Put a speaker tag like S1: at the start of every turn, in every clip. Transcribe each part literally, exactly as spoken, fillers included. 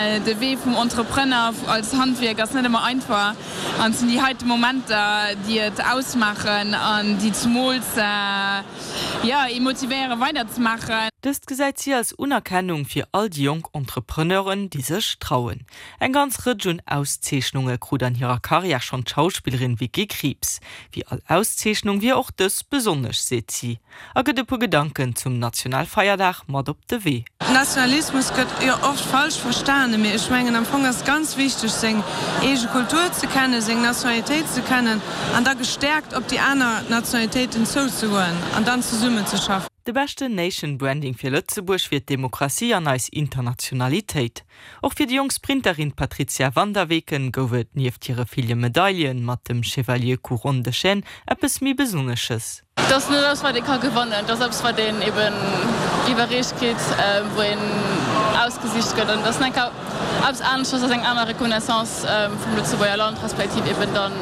S1: De Wee vum Entrepreneur als Handwierk ass net ëmmer einfach an et sinn déi heite Momenter, déi et ausmaachen an déi zemools, jo, ee motivéiere weider ze maachen.
S2: Dëst gesäit si als Unerkennung fir all déi jonk Entrepreneuren, déi sech trauen. Eng ganz Rëtsch un Auszeechnunge krut an hirer Karriär schonn d'Schauspillerin Vicky Krieps. Wéi all Auszeechnung wier och dës besonnesch, seet si a gëtt e puer Gedanken zum Nationalfeierdag mat op de Wee.
S1: Nationalismus gëtt jo oft falsch verstanen, mee ech mengen am Fong ass ganz wichteg seng eege Kultur ze kennen, seng Nationalitéit ze kennen an da gestäerkt op déi aner Nationalitéiten zouzegoen an dann zesummen ze schaffen.
S2: De beschten Nation Branding fir Lëtzebuerg wier d'Demokratie an eis Internationalitéit. Och fir déi jonk Sprinterin Patrizia van der Weken gouf et nieft hire ville Medaillen mat dem Chevalier Couronne de Chêne eppes méi Besonnesches.
S1: Et ass net eppes wat ee ka gewannen, et ass eppes wat een eben iwwerreecht kritt, wou een ausgesicht gëtt an et ass enker eppes aneschters, ass eng aner Reconnaissance vum Lëtzebuerger Land respektiv eben dann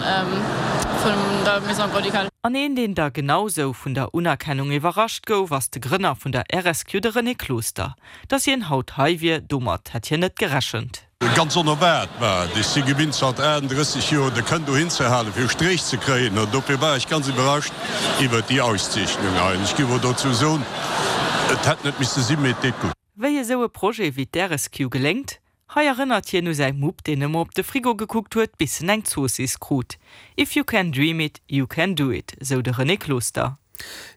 S1: vun der Maison Grand-Ducale.
S2: An een deen da genau sou vun der Unerkennung iwwerrascht gouf, ass de Grënner vun der R S Q, de René Closter. Dass hien haut hei wier, domat hätt hien net gerechent.
S3: Ganz onerwaart, mä ech si gewinnt zanter aachtenddrësseg Joer de Kënn dohin ze halen, fir e Stréch ze kréien, an dofir war ech ganz iwwerrascht iwwert déi Auszeechnung hei. An ech géif och dozou soen, et hätt net misse sinn, mee et deet gutt.
S2: Wéi esou e Projet wéi d'R S Q geléngt? Hei erënnert hien u säi Mupp, deen ëmmer op de Frigo gekuckt huet, bis en eng Zoossiss krut. If you can dream it, you can do it, sou de René Closter.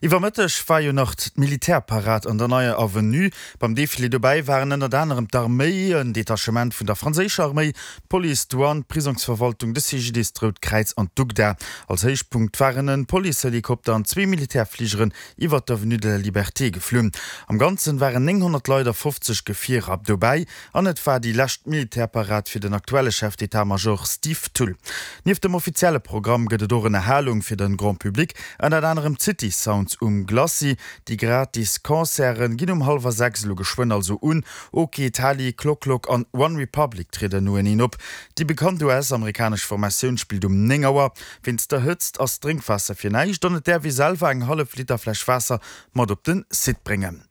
S4: Iwwer Mëtteg war jo nach d'Militärparad an der Neier Avenue. Beim Defilé dobäi waren ënnert anerem d'Arméi, en Detachement vun der franséischer Arméi, d'Police, d'Douane, d'Prisongsverwaltung, de C G D I S, d'Rout Kräiz an d'UGDA. Als Héichpunkt waren e Policehelikopter an zwee Militärfligeren iwwer d'Avenue de la Liberté geflunn. Am Ganzen waren nénghonnert Leit a fofzeg Gefierer dobäi an et war déi lescht Militärparad fir den aktuelle Chef d'état-major Steve Thull. Nieft dem offizielle Programm gëtt et och Ënnerhalung fir de Grand Public, ënnert anerem d'City Sounds um Glacis. Déi gratis Concerten ginn um hallwer sechs elo geschwënn also un. Ok, Tali, Clock Clock an One Republic trieden noeneen op. Déi bekannt U S-amerikanesch Formatioun spillt um néng Auer. Wéinst der Hëtzt ass Drénkwaasser fir näischt an et däerf ee selwer eng hallef Liter Fläsch Waasser mat op den Site bréngen.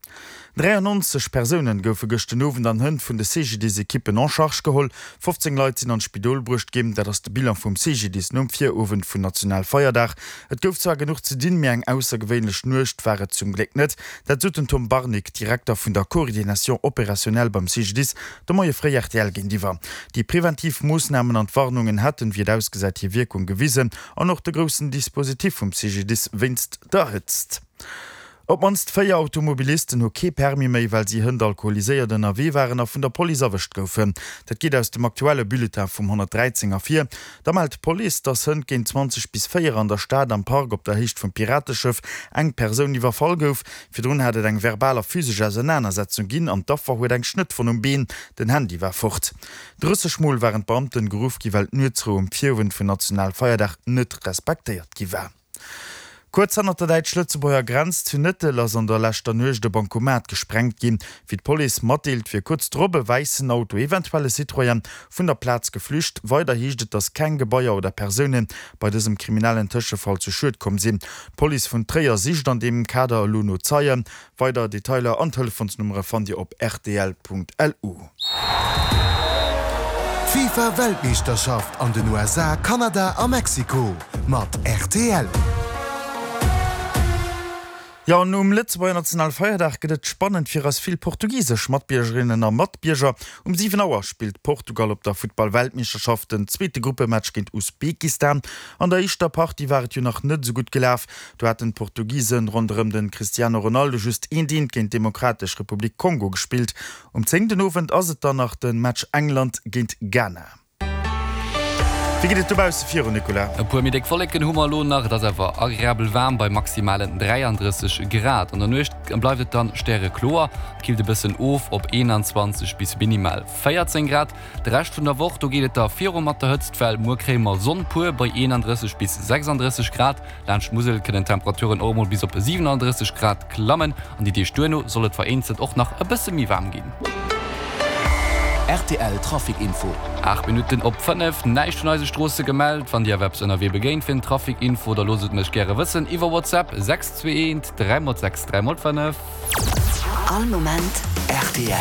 S4: dräiannonzeg Persounen goufe gëscht den Owend an Hënt vun de C G D I S-Ekippen en charge geholl. fofzéng Leit sinn an d'Spidol bruecht ginn, dat ass de Bilan vum C G D I S nom Virowend vun Nationalfeierdag. Et gouf zwar genuch ze dinn, mee eng aussergewéinlech Nuecht war et zum Gléck net. Dat sot den Tom Barnig, Direkter vun der Coordination opérationnelle beim C G D I S, de Moie fréi R T L géintiwwer. Déi preventiv Moossnamen an d'Warnungen hätten, wéi et ausgesäit, hir Wierkung gewisen an och de groussen Dispositif vum C G D I S wéinst der Hëtzt. Op d'mannst véier Automobilisten hu kee Permis méi, well si hënt alkoholiséiert ënnerwee waren a vun der Police erwëscht goufen. Dat geet aus dem aktuelle Bulletin vum honnertdräizéng ervir. Da mellt d'Police, dass hënt géint zwanzeg bis véier an der Stad am Park op der Héicht vum Pirateschëff eng Persoun iwwerfall gouf. Virdrun hat et eng verbal a physesch Ausernanersetzung ginn an d'Affer huet eng Schnëttwonn um Been. Den Handy war fort. Drësseg Mol waren d'Beamten geruff gi well d'Nuetsrou um Virowend vun Nationalfeierdag net respektéiert gi war. Kuerz hannert der däitsch-lëtzebuerger Grenz zu Nëttel ass an der leschter Nuecht e Bankomat gesprengt ginn. Wéi d'Police matdeelt, wier kuerz drop e wäissen Auto, eventuell e Citroën, vun der Plaz geflücht. Weider heescht et, dass keng Gebaier oder Persoune bei dësem kriminellen Tëschefall zu Schued komm sinn. D'Police vun Tréier sicht an deem Kader elo no Zeien. Weider Detailer an Telefonsnummere fannt Dir op R T L Punkt L U.
S5: D'FIFA-Weltmeeschterschaft an den U S A, Kanada a Mexiko mat R T L.
S4: Jo, an um Lëtzebuerger Nationalfeierdag gëtt et spannend fir eis vill portugisesch Matbiergerinnen a Matbierger. Um siwen Auer spillt Portugal op der Futtball-Weltmeeschterschaft den zweete Gruppematch géint Usbekistan. An der éischter Partie war et jo nach net esou gutt gelaf. Do haten d'Portugisen ronderëm de Cristiano Ronaldo just eent eent géint d'Demokratesch Republik Kongo gespillt. Um zéng den Owend ass et dann nach de Match England géint Ghana. Wéi geet et dobausse virun, Nicolas?
S6: E puer méi déck Wolleken hu mer elo nach, et ass awer agreabel waarm bei maximalen dräiandrësseg Grad. An der Nuecht bleift et dann stärekloer, et killt e bëssen of op eenanzwanzeg bis minimal véierzéng Grad. De Rescht vun der Woch, do geet et da viru mat der Hëtztwell, muer kréie mer Sonn pur bei eenandrësseg bis sechsandrësseg Grad. Laanscht d'Musel kënnen d'Temperaturen och emol bis op siwenandrësseg Grad klammen an déi Deeg duerno soll et vereenzelt och nach e bësse méi waarm ginn.
S7: R T L Trafic Info.
S6: Aacht Minutten op fënnef, näischt vun eise Stroosse gemellt. Wann Dir awer eppes ënnerwee begéint fir den Trafic Info, da loosst et mech gäre wëssen iwwer WhatsApp sechs zwee eent dräi mol sechs dräi mol fënnef.
S8: All Moment R T L.